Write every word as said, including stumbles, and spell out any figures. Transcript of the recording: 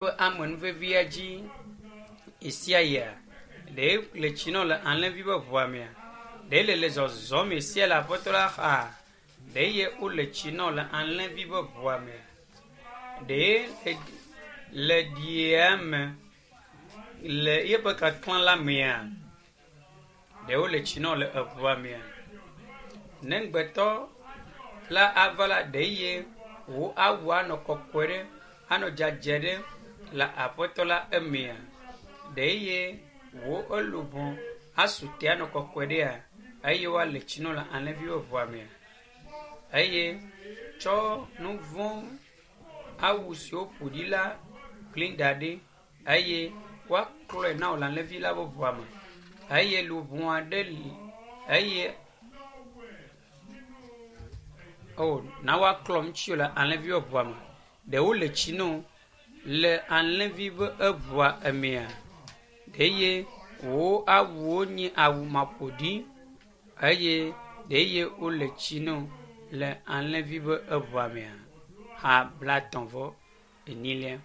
Ƒe amenuvevea dzi ɣesia ɣia? Ɖe le tsi nɔ le alẽvi ƒe ʋua mea? Ɖe le le zɔzɔm ɣesia le Aƒetɔ la xa? Ɖe ye wole tsi nɔ le alẽvi ƒe ʋua mea? Ɖe le ɖia me le yeƒe kaklã la mea? Ɖe wole tsi nɔ le eʋua mea? Ne ŋugbetɔ la ava la, ɖe ye wò awu anɔ kɔkɔe ɖe, anɔ dzadzɛ ɖe le Aƒetɔ la emea? Ɖe ye wò eluʋɔ asu te anɔ kɔkɔe ɖea? Eye woale tsi nɔ le alẽvi ƒe ʋua mea? Eye tsɔ nu vɔ̃ awu siwo ƒo ɖi la kli da ɖi eye woaklɔe na wò le alẽvi la ƒe ʋua me. Eye luʋɔ aɖe li eye o na woaklɔ ŋutiwò le alẽvi ƒe ʋua me. Ɖe wole tsi no le alẽvi ƒe eʋua emea? Ɖe ye wò awuwo nye awu maƒoɖi eye ɖe ye wole tsi no le alẽvi ƒe eʋua mea? Ha blatɔ̃ vɔ enyilia.